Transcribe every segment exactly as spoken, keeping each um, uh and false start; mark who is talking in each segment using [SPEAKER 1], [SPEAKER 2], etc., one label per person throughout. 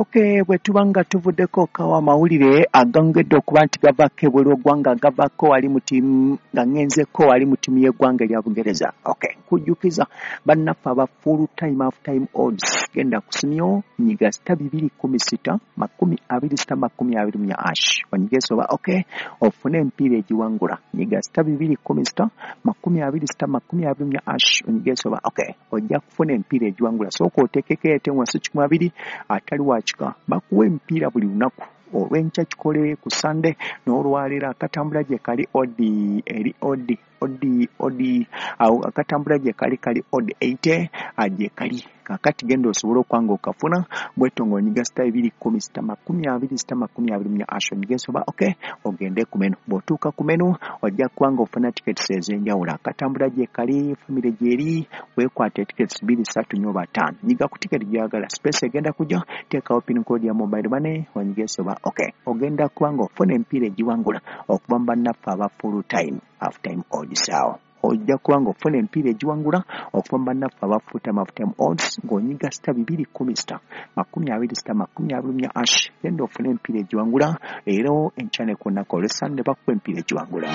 [SPEAKER 1] Okay, bwe tuba nga tuvuddeko kawa amawulire agangedde okuba nti gavako ebweru w'eggwanga, gavako wali mu ttiimu nga ŋŋenzeko wali mu ttiimu y'eggwanga erya Bungereza. Okay, nkujjukiza bannaffe aba full time half time odds, genda ku simyo nyiga sita bibiri kumi sita makumi abiri sita makumi abiri mu ash onyige soba. Okay, ofune empiira egiwangula, nyiga sita bibiri kumi sita makumi abiri sita makumi abiri mu ash onyige soba. Okay, ojja kufuna empiira egiwangula. Sooka oteekeko ete wansi kikumi abiri atali wakika, bakuwa emipiira buli lunaku olw'enkya kikole ku Sande n'olwaleero akatambula gye kali odi eri odi odi odi awo akatambula gye kali kali odi eighty gye kali. Kakati genda osobola okwanga okafuna bwetyo ng'onyiga sita ebiri kumi sita makumi abiri sita makumi abiri mu ash onyige soba. Okay, ogende ku menu. Bw'otuuka ku menu ojja kuba nga ofuna tickets ez'enjawulo, akatambula gye kali, famire gy'eri, weekwate tickets bbiri ssatu nnya oba ttaano, nyiga ku tiketi gy'oyagala, space egenda kujja, teekawo pin code ya mobile money onyige soba. Okay, ogenda kuba nga ofuna emipiira egiwangula okuva mu bannaffe aba full time half time odds awo. Ojja kuba nga ofuna emipiira egiwangula okuva mu bannaffe aba full time half time odds ng'onyiga sita bibiri kumi sita makumi abiri sita makumi abiri mu ash, genda ofune emipiira egiwangula leero enkya ne ku lunaku olw'Essande bakuwa emipiira egiwangula.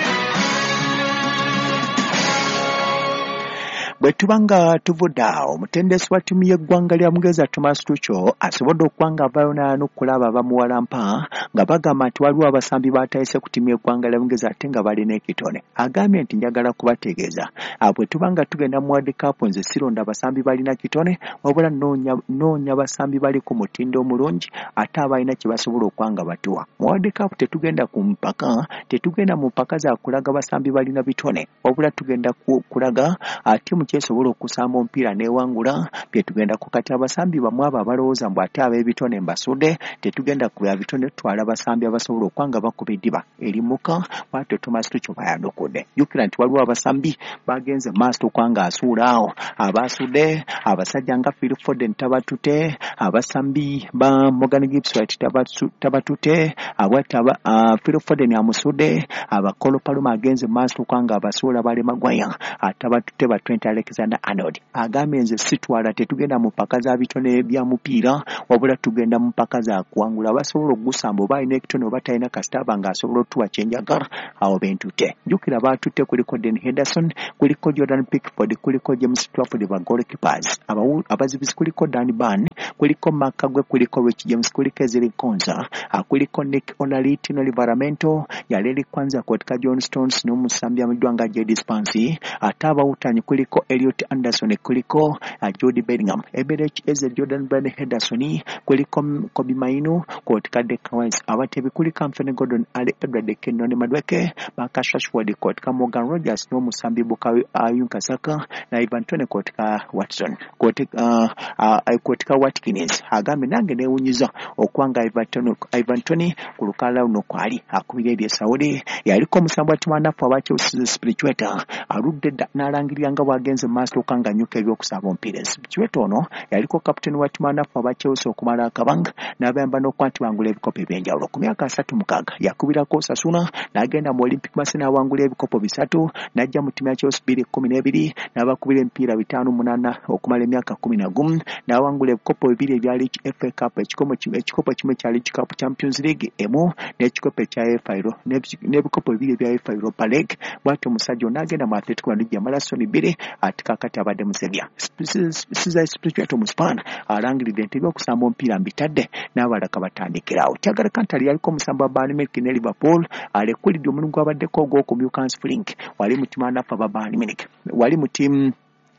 [SPEAKER 1] Bwe tuba nga tuvudde awo, omutendesi wa ttiimu y'eggwanga lya Bungereza Thomas Tuchel asobodde okuba nga avaayo n'ayanukula abo abamuwalampa nga bagamba nti waliwo abasambi baatayise ku ttiimu y'eggwanga lya Bungereza ate nga balina ekitone. Agambye nti njagala kubategeeza, bwe tuba nga tugenda mu World Cup nze sironda abasambi balina kitone, wabula nnoonya basambi bali ku mutindo omulungi ate abalina kye basobola okuba nga batuwa. Mu World Cup tetugenda ku mpaka, tetugenda mu mpaka za kulaga basambi balina bitone, wabula tugenda kulaga ttiimu kyesobola okusamba omupiira n'ewangula bye tugenda ku. Kati abasambi bamwe abo abalowooza mbu ate ab'ebitone mbasudde, tetugenda ku bya bitone, tutwala abasambi abasobola okuba nga bakuba eddiba erimuka. Bw'atyo Thomas Tuchel bw'ayanukudde. Jjukira nti waliwo abasambi bagenze maaso okuba nga asuula awo abaasudde, abasajja nga Phil Foden tabatute, abasambi ba Morgan Gibbs White tabatute, abwatyo Phil Foden amusudde, aba Cole Palmer agenze maaso okuba nga abasuula bale Maguire atabatute, ba Trent Alexander Arnold. Agambye nze sitwala, tetugenda mu mpaka za bitone bya mupiira, wabula tugenda mu mpaka za kuwangula. Abasobola okugusamba oba alina ekitone oba talina, kasita aba ng'asobola otuwa kye njagala awo bentute. Jjukira baatutte kuliko Dean Henderson, kuliko Jordan Pickford, kuliko James Trafford ba goalkeepers, abazibizi kuliko Dan Burn, kuliko Mark Kagwe, kuliko Rich James, kuliko Ezri Konza, kuliko Nick Olali, Tino Livramento, Yareli Kwanza katika John Stones n'omusambi amanyiddwa nga Jed Spence, ate abawutanyi kuliko Elliot Anderson, kuliko Jude Bellingham, Eberechi Eze, Jordan Bryan Henderson, kuliko Kobbie Mainoo, katika Declan Rice, abatebi kuliko Anthony Gordon, Ali Edward Kenyon Madueke, Marcus Rashford, katika Morgan Rogers n'omusambi Bukayo Saka na Ivan Toney katika Watson, katika katika Watkins. Agambye nange neewunyiza okuba nga Ivan Toney ku lukalala luno kwali akubira eri e Saudi, yaliko omusambi wa ttiimu anafu aba Chelsea Spirichueta aludde dda n'alangirira nga bw'agenze mu maaso okuba nga annyuka ebyokusamba omupiira. Spirichueta ono yaliko kapiteeni wa ttiimu anafu aba Chelsea okumala akabanga n'abayamba n'okuba nti bangula ebikopo ebyenjawulo. Ku myaka asatu mukaaga yakubirako Osasuna n'agenda mu Olympic Marseille n'awangula ebikopo bisatu, n'ajja mu ttiimu ya Chelsea bbiri kkumi n'ebiri n'abakubira emipiira bitaano munaana okumala emyaka kkumi na gumu, n'awangula ebikopo bibiri ebya League F A Cup, ekikopo kimu ekya League Cup Champions League emu n'ekikopo ekya F A n'ebikopo bibiri ebya F A Europa League. Bw'atyo omusajja ono n'agenda mu Atletico Madrid yamala soni bbiri ate kaakati abadde mu Sevilla. Cesar Azpilicueta Omuspaana alangiridde nti ebyokusamba omupiira mbitadde n'abalala kabatandikirawo. Thiago Alcantara yaliko omusambi wa Bayern Munich ne Liverpool alekulidde omulimu gw'abaddeko ogw'okumyuka Hans Flick wali mu ttiimu anafu aba Bayern Munich, wali mu ttiimu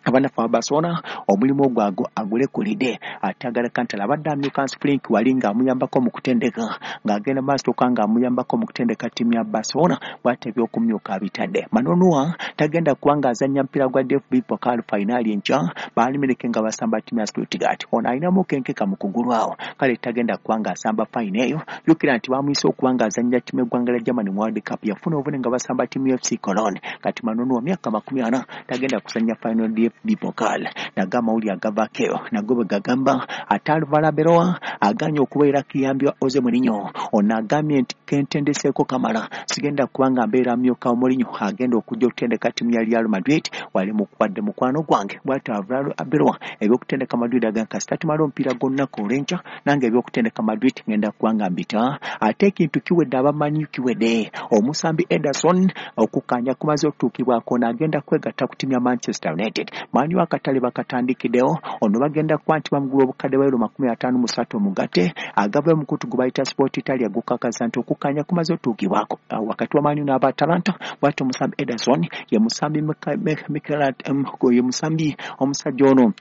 [SPEAKER 1] abanafu aba Barcelona omulimu ogwo agulekulidde. Thiago Alcantara abadde amyuka Hans Flick wali ng'amuyambako mu kutendeka, ng'agenda maaso okuba ng'amuyambako mu kutendeka ttiimu ya Barcelona, bw'atyo ebyokumyuka abitadde. Manuel tagenda kuba ng'azannya mupiira gwa D F B Pokal finali enkya Bayern Munich nga basamba ttiimu ya Stuttgart. Ono alinamu kenkeka mu kugulu awo, kale tagenda kuba ng'asamba fayina eyo. Jjukira nti bamuyise okuba ng'azannya ttiimu y'eggwanga lya Germany mu World Cup, yafuna obuvune nga basamba ttiimu ya F C Cologne. Kati Manuel myaka makumi ana tagenda kuzannya final D D F B Pokal. Nago amawulire agavaako nago bwe gagamba ate Alvaro Arbeloa aganye okubeera kiyambibwa Jose Mourinho. Ono agambye nti kentendeseeko kamala sigenda kubanga mbeera myuka Mourinho agenda okujja okutendeka ttiimu ya Real Madrid wali mukwadde mukwano gwange. Bw'atyo Alvaro Arbeloa ebyokutendeka Madrid agamba kasita tumala omupiira gw'olunaku olw'enkya nange ebyokutendeka Madrid ngenda kubanga mbita. Ate ekintu kiwedde abamanyi kiwedde omusambi Ederson okukkaanya kumaze okutuukibwako n'agenda kwegatta ku ttiimu ya Manchester United. Man U akatale bakatandikiddewo ono bagenda kuba nti bamugula obukadde bwa euro makumi ataano mu ssatu omugatte agava omukutu gwe bayita Sport Italia gukakasa nti okukkaanya kumaze okutuukibwako wakati wa Man U n'aba Atalanta. Bw'atyo omusambi Ederson ye musambi ye musambi omusajja ono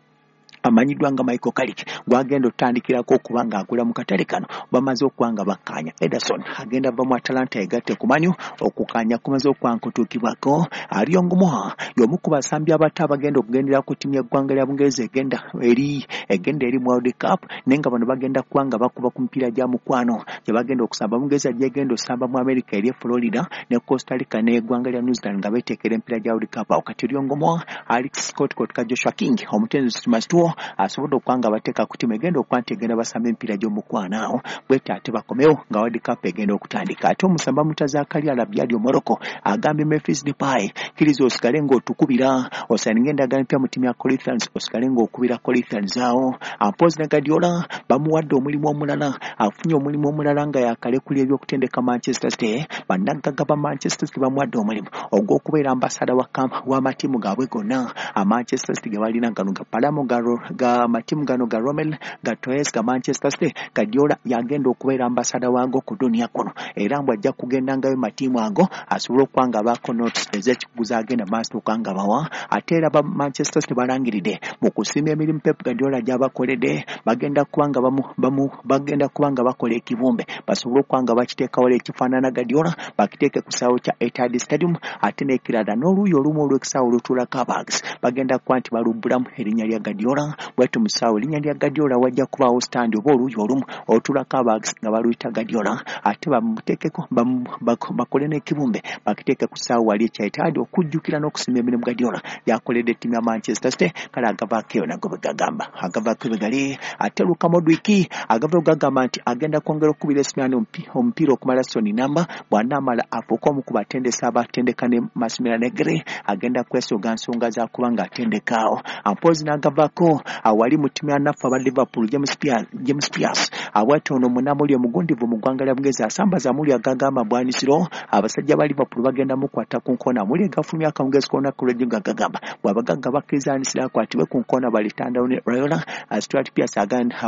[SPEAKER 1] amanyiddwa nga Michael Carrick gwagenda otandikirako okuba ng'agula mu katale kano bamaze okuba nga bakkaanya. Ederson agenda ava mu Atalanta yegatte ku Man U okukkaanya kumaze okuba nga kutuukibwako. Ariong Moha y'omu ku basambi abato abagenda okugendera ku ttiimu y'eggwanga lya Bungereza egenda eri egenda eri mu World Cup naye nga bano bagenda kuba nga bakuba ku mipiira gya mukwano gye bagenda okusamba. Bungereza gyegenda osamba mu America eri e Florida ne Costa Rica n'eggwanga lya New Zealand nga beeteekera emipiira gya World Cup. Awo kati Ariong Moha, Alex Scott Kotka, Joshua King omutendesi Thomas Tuchel asobodde okuba nga bateeka ku ttiimu egenda okuba nti egenda basamba emipiira gy'omukwano awo bwete ate bakomewo nga World Cup egenda okutandika. Ate omusamba Mutazakari Alabyali Omorocco agambye Memphis Depay kkiriza osigale ng'otukubira osayininga endagaano empya mu ttiimu ya Corinthians osigale ng'okubira Corinthians awo. Mpozi ne Guardiola bamuwadde omulimu omulala afunye omulimu omulala nga yakalekula ebyokutendeka Manchester City. Bannagagga ba Manchester City bamuwadde omulimu ogw'okubeera ambasada w'amatiimu gaabwe gonna a Manchester City ge balina gano ga Palermo ga ga matimu gano ga Rommel ga Torres ga Manchester City. Guardiola yagenda okubeera ambasada waago ku dunia kuno era mbw ajja kugendangayo matiimu ago asobole okuba nga baako notes ez'ekikuguza agenda maaso okuba nga bawa. Ate era ba Manchester City balangiridde mu kusiima emirimu Pep Guardiola gy'abakoledde bagenda kuba nga bamu, bamu, bagenda kuba nga bakola ekibumbe basobole okuba nga bakiteekawo ekifaanana Guardiola bakiteeke ku kisaawe kya Etihad Stadium. Ate n'ekirala n'oluuyi olumu olw'ekisaawe olutuulako abags bagenda kuba nti balubbulamu erinnya lya Guardiola. Bw'atyo mu kisaawe erinnya lya Guardiola wajja kubaawo stand oba oluuyi olumu olutuulako abags nga baluyita Guardiola ate bamuteekeko bakole n'ekibumbe bakiteeke ku kisaawe wali ekya Etihad okujjukira n'okusiima emirimu Guardiola yakoledde ttiimu ya Manchester City. Kale agavaako eyo nago bwe gagamba agavaako bwe gali. Ate Luka Modric agavaako gagamba nti agenda kwongera okukubira Esimiani omupiira okumala soni namba bw'anaamala afuuke omu ku batendesi abatendeka ne Massimiliano Allegri agenda kwesoga nsonga za kuba ng'atendeka awo. Mpozi n'agavaako awali mu ttiimu ya naffe aba Liverpool James Pearce, James Pearce abwati ono munnamawulire omugundivu mu ggwanga lya Bungereza asambaza amawulire agagamba bwanisiro abasajja ba Liverpool bagenda mukwata ku nkona. Amawulire gafulumye akawungeezi k'olunaku lw'ejjo nga gagamba bw'abagagga bakkiriza anisiro akwatibwe ku nkona balitandao ne Raiola. Stuart Pearce agamba